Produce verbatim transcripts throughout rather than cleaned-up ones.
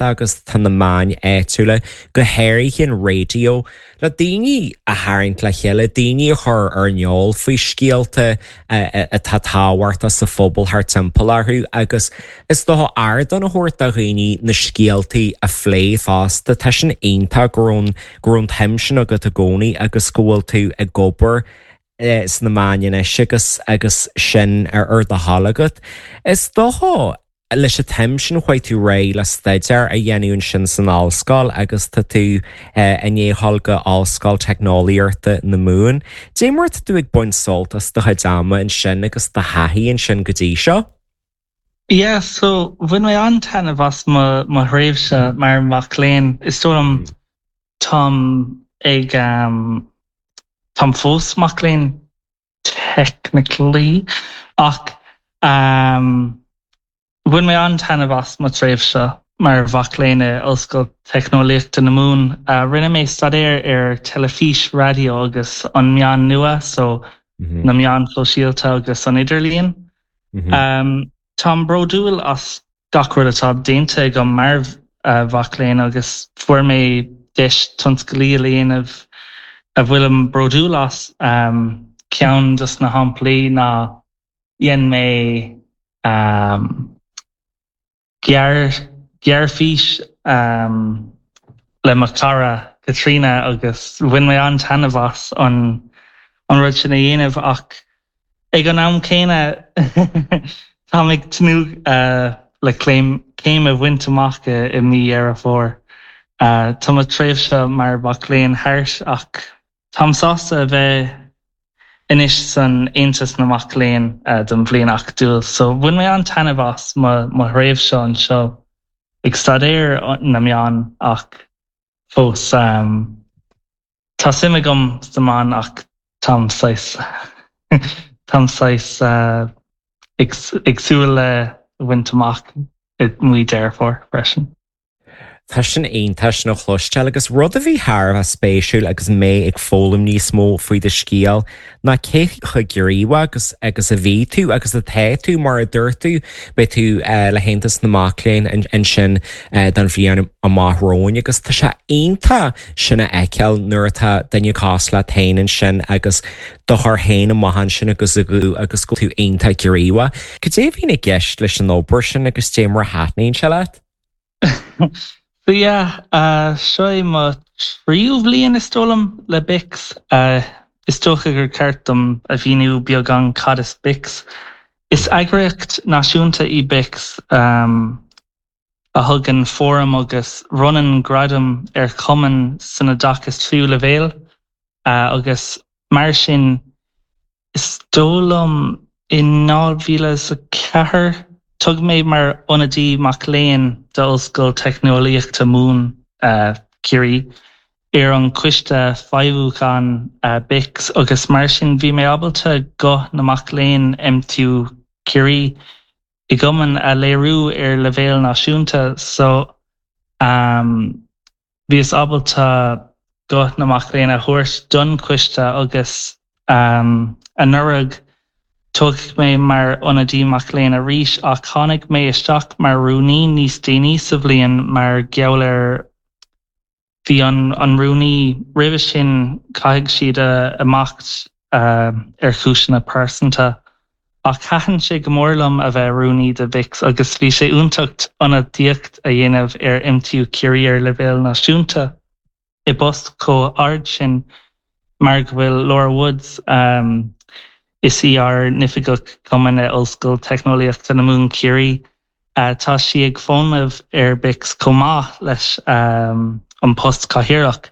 Agus tá na meáin áitiúla, go háirithe an raidió, le daoine a tharraingt le chéile, daoine a chur ar an eolas faoi scéalta atá tábhachtach sa phobal thar timpeall orthu, agus is dócha ardán a thabhairt do dhaoine na scéaltaí a phlé fosta. Tá sin iontach go raibh go raibh an tsuim sin agat i gcónaí agus go bhfuil tú ag obair sna meáin anois agus agus sin ar ar do thoil agat. Is dócha leis an tsuim sin chuaigh tú réidh le staidéar a dhéanamh ansin san ollscoil agus tá tú i ndiaidh dul go Ollscoil Teicneolaíochta na Mumhan. Dé mar tú ag baint sult as do chuid ama ansin agus do thaithí ansin go dtí seo? Yeah, so bhain mé an-taitneamh as mo mo thréimhse mar mac léinn. Is dóigh liom táim ag um, táim fós mac léinn, technically, ach um, bhain mé an-taitneamh as mo thréimhse mar mhac léinn i Ollscoil Teicneolaíochta na Mumhan. Uh, rinne mé staidéar ar teilifís, raidió agus an meán nua, so mm -hmm. na meáin shóisialta agus an idirlíon. Mm -hmm. um, Táim bródúil as gach rud atá déanta agam mar uh, mhac léinn agus fuair mé deis tionscadail a dhéanamh a bhfuilim bródúil as. um, ceann dos na samplaí ná dhein mé um, gearr gearrfhís um, le mo chara Katrina agus bhain mé an-taitneamh as an an rud sin a dhéanamh, ach ag an am céanna tá ag tnúth uh, le céim céim a bhaint amach i mí Dheireadh Fómhair. Uh, tá mo tréimhse mar mhac léinn thart, ach táim sásta a bheith anois san Aontas na Mac Léinn uh, don bhliain acadúil, so bhain mé an-taitneamh as mo thréimhse anseo ag staidéar na meán, ach fós um, tá suim agam sna meáin, ach táim táim uh, ag, ag súil le bhaint amach i mí Dheireadh Fómhair freisin. Tá sin iontach sin a chloisteáil, agus rud a bhí thar a spéisiúil agus mé ag foghlaim níos mó faoi do scéal ná cé chomh gníomhach agus agus a bhí tú agus atá tú. Mar a dúirt tú, beidh tú uh, le hAontas na Mac Léinn ansin uh, don bhliain amach romhainn, agus tá sé iontach sin a fheiceáil nuair atá duine cosúil leat féin ansin agus do chur féin amach ansin agus a gú agus go tú iontach gníomhach. Cad é a bhíonn i gceist leis an obair sin agus dé mar a thaitníonn sé leat? So yeah, uh, seo é mo tríú bhliain, is dóigh liom, le BICS. Uh, is dócha gur ceart dom a mhíniú beagán cad is BICS. Is eagraíocht náisiúnta í BICS um, a thugann fóram agus bronnann gradam ar chumainn san oideachas tríú leibhéal, uh, agus mar sin, is dóigh liom in dhá mhíle a ceathair toghadh mé mar ionadaí mac léinn d'Ollscoil Teicneolaíochta Mumhan, uh, Ciarraí, ar an coiste feidhmiúcháin uh, BICS, agus mar sin bhí mé ábalta guth na mac léinn M T U Ciarraí i gcumann a léiriú ar leibhéal náisiúnta, so um, bhíos ábalta guth na mac léinn a thabhairt don choiste, agus um, anuraidh toghadh mé mar ionadaí mac léinn arís, ach tháinig mé isteach mar rúnaí níos déanaí sa bhliain mar gheall ar bhí an an rúnaí roimhe sin, caithfidh siad a amach uh, ar chúiseanna pearsanta. Ach thaitin sé go mór liom a bheith rúnaí de BICS, agus bhí sé iontach ionadaíocht a dhéanamh ar M T U Ciarraí ar leibhéal náisiúnta i bpost chomh hard sin, mar go bhfuil Laura Woods, um, is í ár n-oifigeach cumainn Ollscoil Teicneolaíochta na Mumhan Ciarraí. Uh, tá sí ag fónamh ar BICS chomh maith leis um, an post cathaoirleach,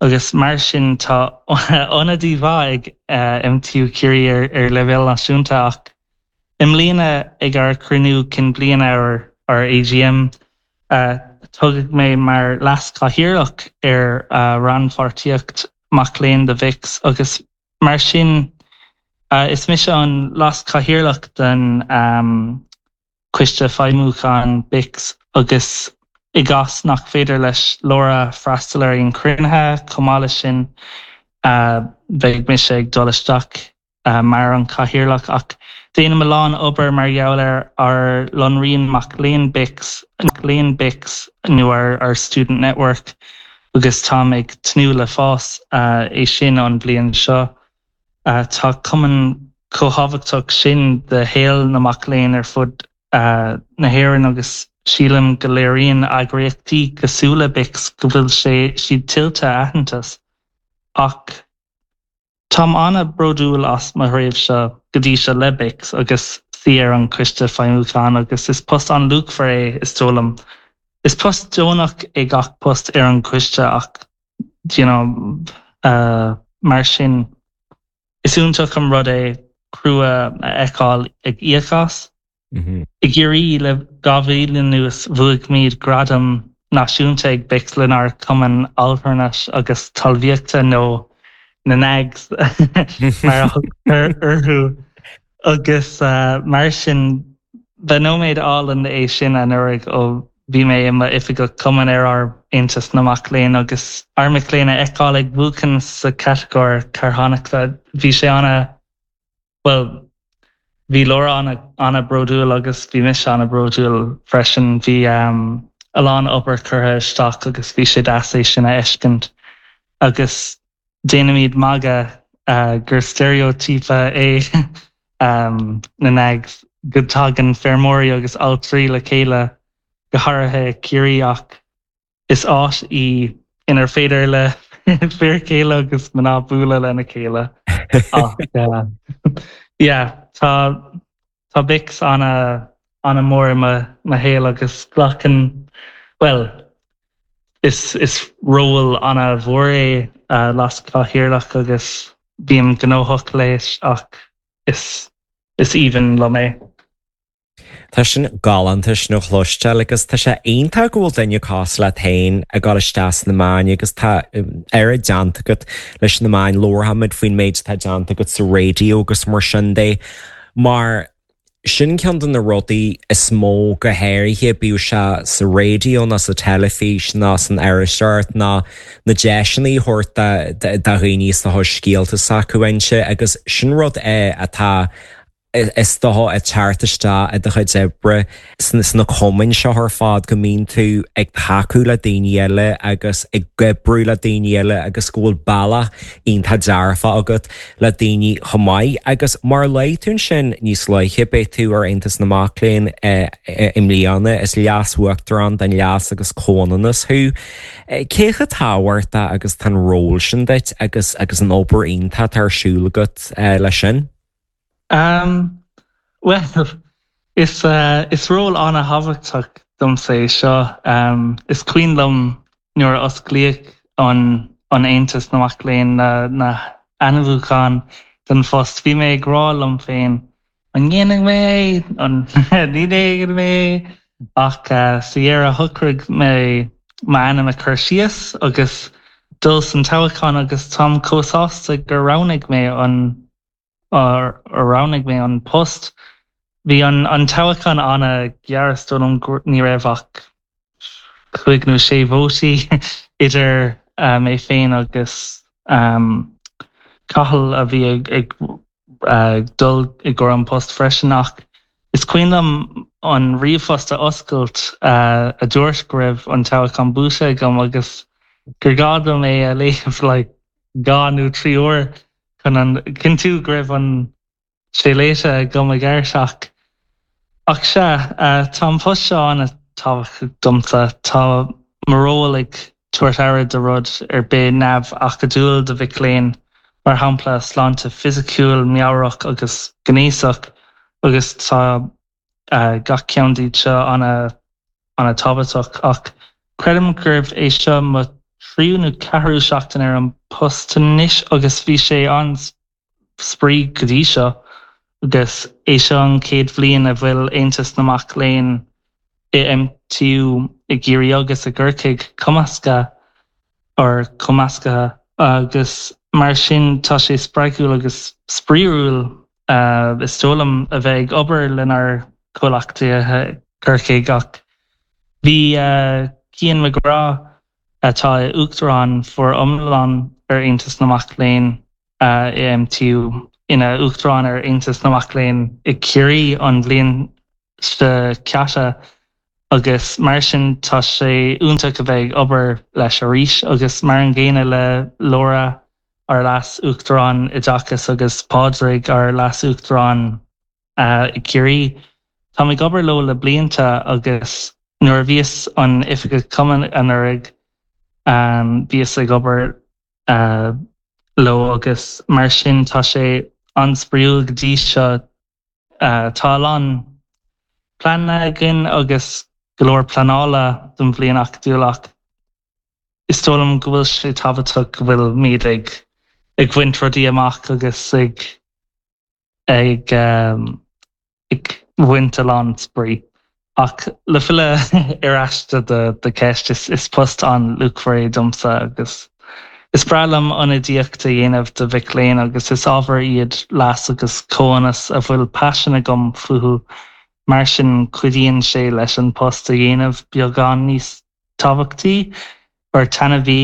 agus mar sin tá ionadaí mhaith ag uh, M T U Ciarraí ar, ar leibhéal náisiúnta. Ach i mbliana ag ár gcruinniú cinn bliana, ar ar A G M, uh, toghadh mé mar leas-chathaoirleach ar uh, rannpháirtíocht mac léinn de BICS, agus mar sin Uh, is mise an leas-chathaoirleach den um, coiste feidhmiúcháin BICS, agus i gcás nach féidir leis Laura freastal ar an chruinniú, chomh maith leis sin, uh, beidh mise ag dul isteach. mar an cathaoirleach ach déanaim a lán obair mar gheall ar ár lánrian mac léinn BICS léinn BICS nó ar our student network agus táim ag tnúth le fás é sin an bhliain seo. Tá cumann chomh tábhachtach sin do shaol na mac léinn ar fud na hÉireann agus sílim go léiríonn eagraíochtaí cosúil le BICS go bhfuil sé siad tuillte aitheantas. Ach Táim an-bhródúil as mo thréimhse go dtí seo le BICS agus suí ar an coiste feidhmiúcháin agus is post an-luachmhar é is dóigh liom. Is post deonach é gach post ar an coiste ach you know, uh, mar sin is iontach an rud é crua a fheiceáil ag íoc as. Mm -hmm. I gCiarraí le dhá bhliain anuas bhuaigh muid gradam náisiúnta ag BICS lenár cumann altranais agus talmhaíochta nó na NAGs mar orthu agus uh, mar sin ba nóiméad álainn é sin anuraidh ó bhí mé i m'oifigeach cumann ar ár Aontas na Mac Léinn agus ár mic léinn a fheiceáil ag buachan sa catagóir carthanachta bhí sé an- well bhí Laura an- an-bhródúil agus bhí mise an-bhródúil freisin bhí um, a lán obair curtha isteach agus bhí sé deas é sin a fheiscint agus déanaimid magadh uh, gur steiréitíopa é um, na NAGs go dtagann feirmeoirí agus altraí le chéile go háirithe Ciarraí ach is áit í inar féidir le fir chéile agus mná bualadh lena chéile ach uh, yeah, tá tá BICS an- an-mhór i mo shaol agus glacann well is is ról an-mhór é uh, leaschathaoirleach agus bím gnóthach leis ach is is aoibhinn liom é. Tá sin galánta sin a chloisteáil agus tá sé iontach go bhfuil duine cosúil leat féin ag dul isteach sna meáin agus tá oiread déanta agat leis na meáin labharfaimid faoin méid atá déanta agat sa raidió agus mar sin de mar sin ceann de na rudaí is mó go háirithe bíodh sé sa raidió ná sa teilifís ná san iriseoireacht ná na deiseanna a thabhairt do dhaoine is tá scéalta s'acu inse agus sin rud é atá is dócha ag teacht isteach i do chuid oibre sna cumainn seo ar fad go mbíonn tú ag tacú le daoine eile agus ag oibriú le daoine eile agus go bhfuil bealach iontach dearfa agat le daoine chomh maith agus mar luaigh tú sin níos luaithe beidh tú ar Aontas na Mac Léinn i mbliana is leas-uachtarán den leas agus comhionannas thú. Cé chomh tábhachtach agus tá an ról sin duit agus agus an obair iontach ar siúl agat leis sin? Um, well is uh, is ról an-thábhachtach domsa é seo um, is cuimhin liom nuair a osclaíodh an an Aontas na Mac Léinn na, na hainmniúcháin don phost bhí mé ag rá liom féin an ndéanfaidh mé an ní dhéanfaidh mé ach uh, sa dheireadh shocraigh mé m'ainm a chur síos agus dul san toghchán agus táim chomh sásta gur roghnaigh mé an a roghnaigh mé an post. Bhí an an toghchán an-ghearr is dóigh liom ní raibh ach cúig nó sé vótaí idir uh, mé féin agus um, Cathal a bhí ag, ag uh, dul i gcomhair an post freisin ach is cuimhin liom an ríomhphost a oscailt uh, a dúirt go raibh an toghchán buaite agam agus gur ghá dom é a léamh like, dhá nó trí uair chun an cinntiú go raibh an sé léite agam i gceart ach ach sé uh, tá an post seo an-tábhachtach domsa tá mo ról ag tabhairt aire do rud ar bith neamh-acadúil do mhic léinn mar shampla sláinte fisiciúil meabhrach agus gnéasach agus tá uh, gach ceann díobh seo an- an-tábhachtach ach creidim gurb é seo mo tríú nó ceathrú seachtain ar an post anois agus bhí sé an-spraoi go dtí seo agus é seo an chéad bhliain a bhfuil Aontas na Mac Léinn i MTU i gCiarraí agus i gCorcaigh cumasctha or cumasctha agus mar sin tá sé spreagúil agus spraíúil uh, is dóigh liom a bheith ag obair lenár gcomhghleacaithe Corcaigh ach bhí uh, Cian McGrath atá uachtarán foriomlán ar Aontas na Mac Léinn uh, i MTU ina uachtarán ar Aontas na Mac Léinn i Ciarraí an bhliain seo caite agus mar sin tá sé iontach a bheith ag obair leis arís agus mar an gcéanna le Laura ár leas-uachtarán oideachais agus Pádraig ár leas-uachtarán uh, i Ciarraí. Tá ag obair leo le blianta agus nuair a bhíos an oifigeach cumainn anuraidh um, bhíos ag obair uh, leo agus mar sin tá sé an-spraíúil go dtí seo uh, tá an plean againn agus go leor pleanála don bhliain acadúil ach is dóigh liom go bhfuil sé tábhachtach go bhfuil muid ag ag baint rudaí amach agus ag ag um, ag baint a lán spraoi. Ach le filleadh ar ais de do cheist is, is post an-luachmhar é domsa agus is breá liom ionadaíocht a dhéanamh do mhic léinn agus is ábhar iad leas agus comhionannas a bhfuil paisean agam fúthu mar sin cuidíonn sé leis an post a dhéanamh beagán níos tábhachtaí or taitneamhaí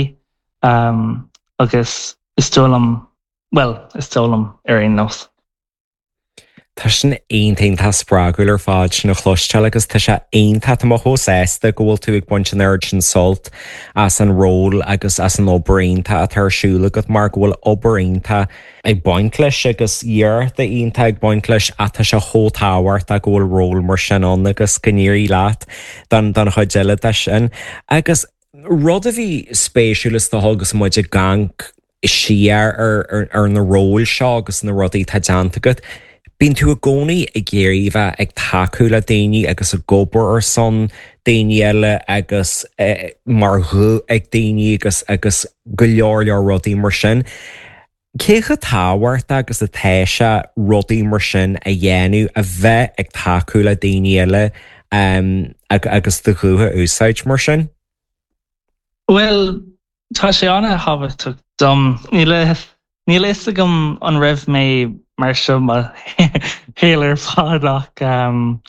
um, agus is dóigh liom well is dóigh liom ar aon nós. Tá sin iontach spreagúil ar fad sin a chloisteáil agus tá sé iontach tá mé chomh sásta go bhfuil tú ag baint an oiread sin sult as an ról agus as an obair iontach atá ar siúl agat mar go bhfuil obair iontach ag baint leis agus iarracht iontach ag baint leis atá sé chomh tábhachtach go bhfuil ról mar sin ann agus go n-éirí leat don don chuid eile de sin. Agus rud a bhí spéisiúil is dócha agus muid ag amharc siar ar, ar, ar na róil seo agus na rudaí atá déanta agat. Bíonn tú i gcónaí ag iarraidh bheith ag tacú le daoine agus ag obair ar son daoine eile agus eh, mar ghuth ag daoine agus agus go leor leor rudaí mar sin. Cé chomh tábhachtach agus atá sé rudaí mar sin a dhéanamh a bheith ag tacú le daoine eile um, agus do ghuth a úsáid mar sin? Well, tá sé an-tábhachtach dom níl níl a fhios agam an raibh mé mar seo mo shaol ar fad ach um,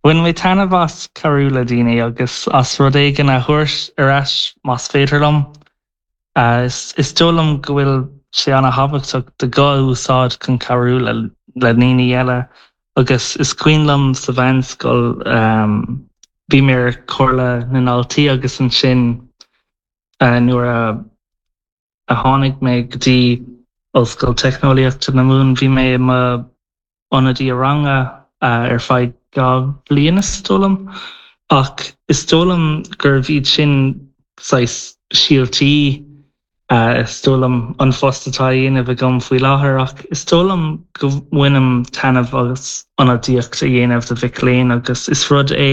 Bhain mé taitneamh as cabhrú le daoine agus as rud éigin a thabhairt ar ais más féidir liom. Uh, is, is dóigh liom go bhfuil sé an-tábhachtach do ghuth a úsáid chun cabhrú le, le daoine eile agus is cuimhin liom sa mheánscoil um, bhí mé ar Chomhairle na nDaltaí agus ansin uh, nuair a, a tháinig mé go dtí Ollscoil Teicneolaíochta na Mumhan bhí mé mo ionadaí ranga uh, ar feadh dhá bhliain is dóigh liom ach is dóigh liom gurbh iad sin saghas síoltaí uh, is dóigh liom an phost atá á dhéanamh agam faoi láthair ach is dóigh liom go mbainim taitneamh as ionadaíocht a dhéanamh do mhic léinn agus is rud é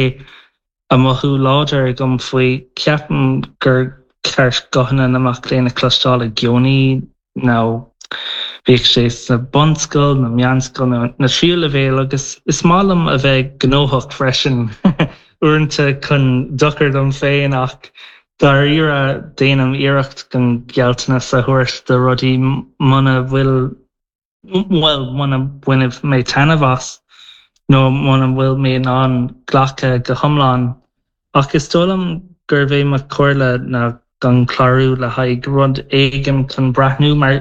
a mothú láidir agam faoi ceapaim gur ceart guthanna na mac léinn a chloisteáil i gcónaí nó bíodh sé sa bunscoil na meánscoil na, na tríú leibhéal agus is maith liom a bheith gnóthach freisin uaireanta chun dochar dom féin ach dáiríre déanaim iarracht gan gealltanas a thabhairt do rudaí muna bhfuil well muna mbainfidh mé taitneamh as nó muna bhfuil mé in ann glacadh go hiomlán ach is dóigh liom gurbh é mo chomhairle ná gan clárú le haghaidh rud éigin chun breathnú mar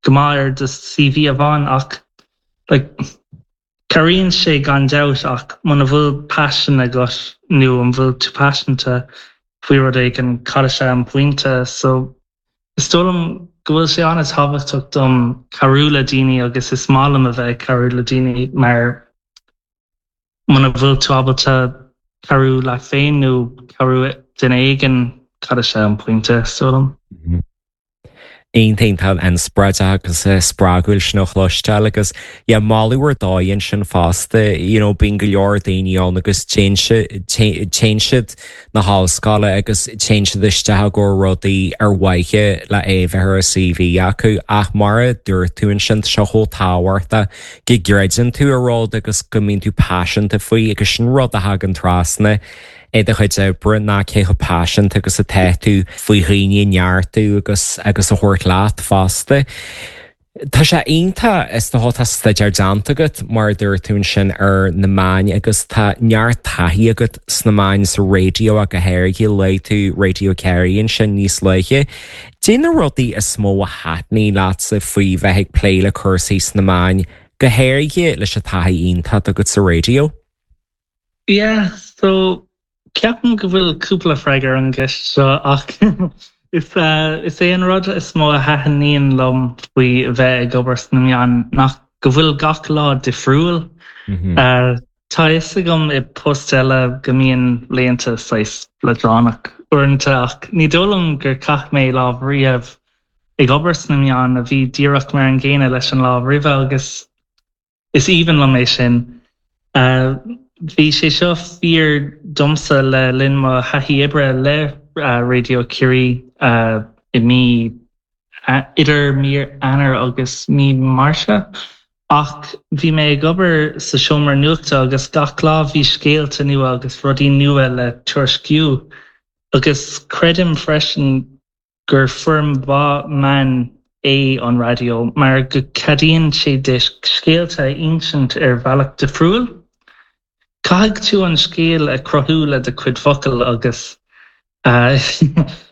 go maith ar do CV amháin ach like, cabhraíonn sé gan dabht ach muna bhfuil paisean agat nó an bhfuil tú paiseanta faoi rud éigin cad é an pointe so is dóigh liom go bhfuil sé an-tábhachtach dom cabhrú le daoine agus is maith liom a bheith cabhrú le daoine mar muna bhfuil tú ábalta cabhrú leat féin nó cabhrú duine éigin cad é an pointe is dóigh liom. Mm -hmm. Iontach an-spreagúil agus spreagúil sin a chloisteáil agus yeah, moladh ar dóigh sin fosta you know, bíonn go leor daoine ann agus téann siad na hollscoile agus téann siad isteach go rudaí ar mhaithe le é bheith ar a CV acu ach mar a dúirt tú ansin seo chomh tábhachtach go gcreideann tú i rud agus go mbíonn tú paiseanta faoi agus sin rud a thagann trasna i do chuid oibre ná cé chomh paiseanta agus atá tú faoi dhaoine a neartú agus agus a thabhairt leat fosta. Tá sé iontach is dócha tá staidéar déanta agat mar dúirt tú ansin ar na meáin agus tá neart taithí agat sna meáin sa raidió ach go háirithe luaigh tú Radio Kerry ansin níos luaithe. Cad é na rudaí is mó a thaitníonn leatsa faoi bheith ag plé le cúrsaí sna meáin go háirithe leis an taithí iontach agat sa raidió? Yeah, so ceapaim go bhfuil cúpla freagra ar an gceist seo ach is uh, is é an rud is mó a thaitníonn liom faoi bheith ag obair sna meáin ná go bhfuil gach lá difriúil. Mm -hmm. uh, Tá fhios agam i post eile go mbíonn laethanta saghas leadránach uaireanta ach ní dóigh liom gur chaith mé lá riamh ag obair sna meáin a bhí díreach mar an gcéanna leis an lá roimhe agus is aoibhinn liom é sin. Uh, Bhí sé seo fíor domsa le linn mo thaithí oibre le uh, Raidió Ciarraí uh, i mí uh, idir mí Eanáir agus mí Márta. Ach bhí mé ag obair sa seomra nuachta agus gach lá bhí scéalta nua agus rudaí nua le tuairisciú. agus creidim freisin gur foirm mhaith meán é an raidió mar go gceadaíonn sé duit scéalta a insint ar bhealach difriúil. Caithfidh tú an scéal a chruthú le do chuid focal agus uh,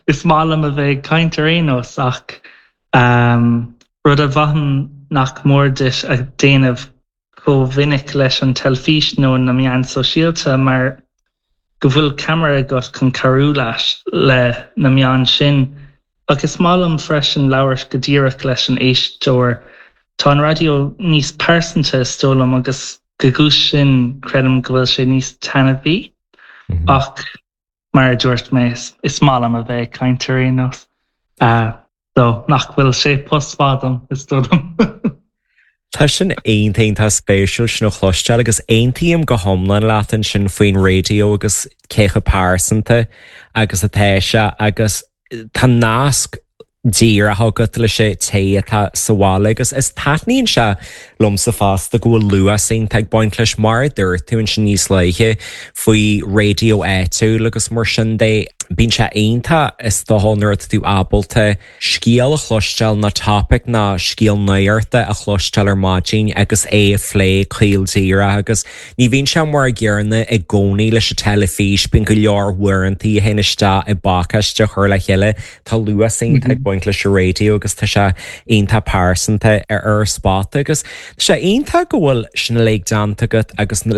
is maith liom a bheith ag caint ar aon nós ach um, rud a bhraithim nach mór duit a dhéanamh chomh minic leis an teilifís nó na meáin sóisialta mar go bhfuil ceamara agat chun cabhrú leis le na meáin sin agus is maith liom freisin labhairt go díreach leis an éisteoir Tá an raidió níos pearsanta is dóigh liom agus de bharr sin creidim go bhfuil sé níos taitneamhaí mm -hmm. ach mar a dúirt mé is maith liom a bheith ag caint ar aon nós. Uh, so nach bhfuil sé post fadam is dóigh liom. Tá sin iontach spéisiúil sin a chloisteáil agus aontaím go hiomlán leat ansin faoin raidió agus cé chomh pearsanta agus atá sé agus tá nasc díreach agat leis an té atá sa bhaile agus is taitníonn sé liomsa fosta go bhfuil luas iontach ag baint leis mar dúirt tú ansin níos luaithe faoi raidió áitiúil agus mar sin de bíonn sé iontach is dócha nuair atá tú ábalta scéal a chloisteáil ná topic ná scéal nuachta a chloisteáil ar maidin agus é a phlé caol díreach agus ní bhíonn sé mar an gcéanna i gcónaí leis an teilifís bíonn go leor uaireanta a théann isteach i bpacáiste a chur le chéile tá luas iontach ag baint leis an raidió agus tá sé iontach pearsanta ar ar spota agus Tá sé iontach go bhfuil sin uilig déanta agat agus